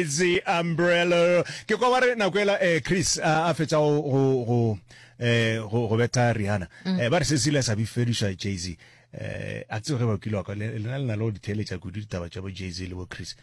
Jay-Z Umbrella. Ke kwa ba re nako ela eh, Chris a, a fetša go go go eh, go, go betha Rihanna. Mm. Eh, ba re se se ile sa bifediša Jay-Z. Eh, a tsebe ge ba kile wa kwa le lena le na le go di theeletša kudu ditaba tša bo Jay-Z le bo Chris.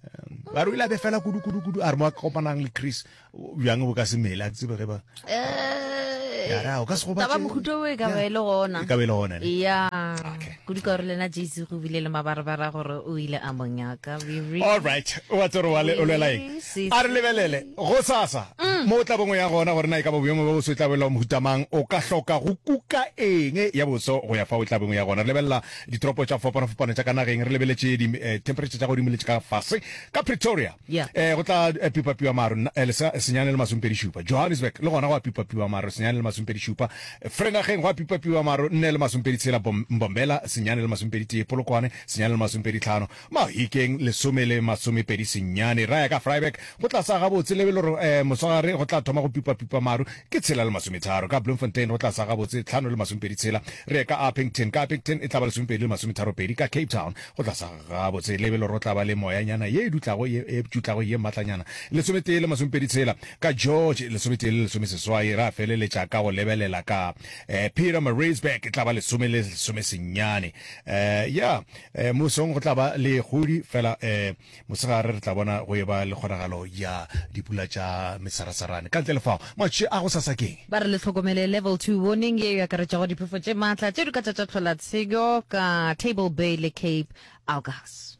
Um, ba re o ile a befela kudu kudu kudu a re mo a kopanang le Chris bjang bo ka se mele a tsebe ge ba Eh, Ya, ra, o ka se gobatše. taba mohuta o e ka ba e le gona E ka ba e le gona, ne? ya Okay. kudu ka gore lena jc go bile le mabarebare a gore o ile a mo nyaka We really- all right wa tsere wa le- o lwela eng Si, a re lebelele go sasa Mm. mo o tla bongwe ya gona gore na e ka ba boemo ba boso e tla bolela mohuta mang o ka hloka go kuka eng ya boso go ya fa o tla bongwe ya gona re lebelela ditoropo tša go fapana-fapana tša ka nageng re lebeletše di-temperature tša godimo le tša ka fase ka pretoria Yeah. Eh, go tla eh, pipapiwa maru nna- eh, lesa- senyane le masomepedi šupa. Johannesburg le gona go a pipapiwa maru senyane le masomepedi šupa. Vrenageng go a pipapiwa maru nne le masomepedi tshela. Bom- Mbombela senyane le masomepedi tee. Polokwane senyane le masomepedi tlhano. Mahikeng lesome le masomepedi senyane. Ra ya ka Vryburg go tla sa gabotse lebelo re eh, moswagare go tla thoma go pipapipa maru ke tshela le masometharo. Ka Bloemfontein go tla sa gabotse tlhano le masomepedi tshela. Re ye ka Upington, ka Upington e tla ba lesomepedi le masometharopedi. Ka Cape Town go tla sa Gabotse, lebelo ro tla ba le moyanyana ye e dutlago ye e tšutlago ye matlanyana. Lesometee le masomepedi tshela, ka George, lesometee le lesomeseswai, ra feleletša ka go lebelela ka eh, Pietermaritzburg, e tla ba lesome le lesomesenyane. Eh, ya, eh, mosong go tla ba le kgodi, fela eh, mosegare re tla bona go eba le kgonagalo ya dipula tša mesarasarane. Ka ntle le fao, matšatši a gosasa ke eng? Ba re le hlokomele Level 2 warning ye e akaretšago diphefo tše matla tše di ka tša tša hlola tshenyo ka Table Bay le Cape Agulhas.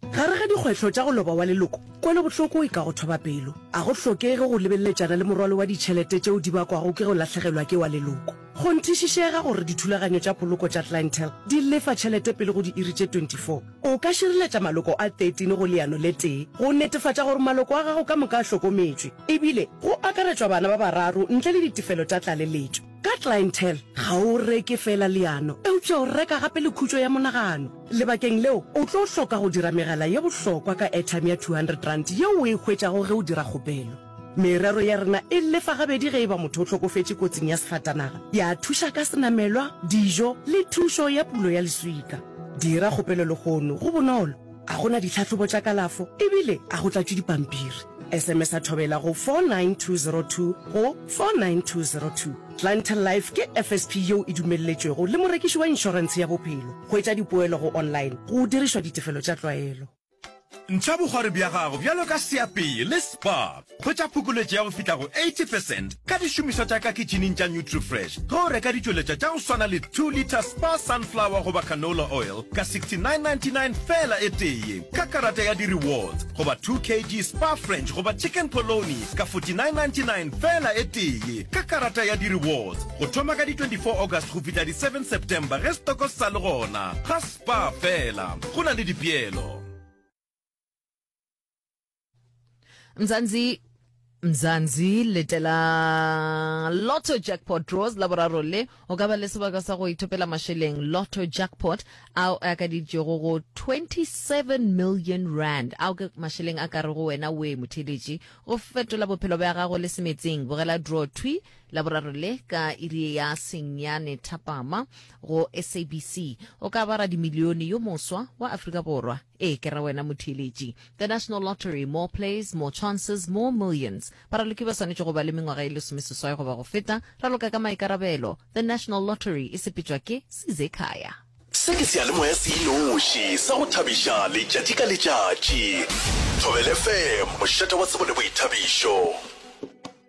Gare ga dikgwetlho tša go loba wa leloko, kwelobohloko e ka go thoba pelo. A go hlokege go lebeleletšana le morwalo wa ditšhelete tšeo di bakwago ke go lahlegelwa ke wa leloko. Kgonthišišega gore dithulaganyo tša poloko tša Clientele di lefa tšhelete pele go diiri tše 24. O ka šireletša maloko a 13 go leano le tee go netefatša gore maloko a gago ka moka a hlokometšwe, ebile go akaretšwa bana ba bararo ntle le ditefelo tša tlaleletšo. Ka Clientele, ga o reke feela leano, eupša o reka gape le khutšo ya monagano. Lebakeng leo, o tlo hloka go dira megala ye bohlokwa ka airtime ya R200 yeo o e hwetšago ge o dira kgopelo. Merero ya rena e lefa gabedi ge e ba motho o hlokofetše kotsing ya sefatanaga, ya thuša ka senamelwa, dijo le thušo ya pulo ya leswika. Dira kgopelo lehono, go bonolo, a go na ditlhahlobo tša kalafo ebile a go tlatšwe dipampiri. SMS-a Thobela go 49202 go 49202. Clientele Life ke FSP yeo e dumelletšwego le morekiši wa inšorentshe ya bophelo. Hwetša dipoelo go online go dirišwa ditefelo tša tlwaelo. Ntšha bokgwari bja gago bjalo ka seapei le Spar. Hwetša phokoletšo ya go fihla go 80 percent ka dišomišwa tša ka kitšhining tša Nutrifresh ge o reka ditšweletšwa tša go swana le 2 litre Spar Sunflower goba Canola Oil ka 69.99 feela e tee ka karata ya di-rewards goba 2 kg Spar French goba Chicken Polony ka 49.99 feela e tee ka karata ya di-rewards go thoma ka di 24 August go fihla di 7 September ge setoko se sa le gona. Ga Spar feela go na le dipeelo. Mzansi Mzansi letela Lotto Jackpot Draws la boraro le o ka ba le sebaka sa go ithopela mašeleng Lotto Jackpot ao a akaditšego go 27 million rand ao ke mašeleng a ka re go wena we motheletši go fetola bophelo bja gago le semetseng bogela draw thwi la boraro le ka iri ya senyane thapama go SABC o ka ba radimilione yo moswa wa Afrika Borwa Ee, ke ra wena motheeletši. The National Lottery, more plays, more chances, more millions. Baraloki ba swanetše go ba le mengwaga e lesomeseswai goba go feta. Raloka ka maikarabelo. The National Lottery e sepetšwa ke Sizekhaya. Se ke seyalemoya se inoši sa go thabiša letšatši ka letšatši. Thobela FM, mošate wa tsebo le boithabišo.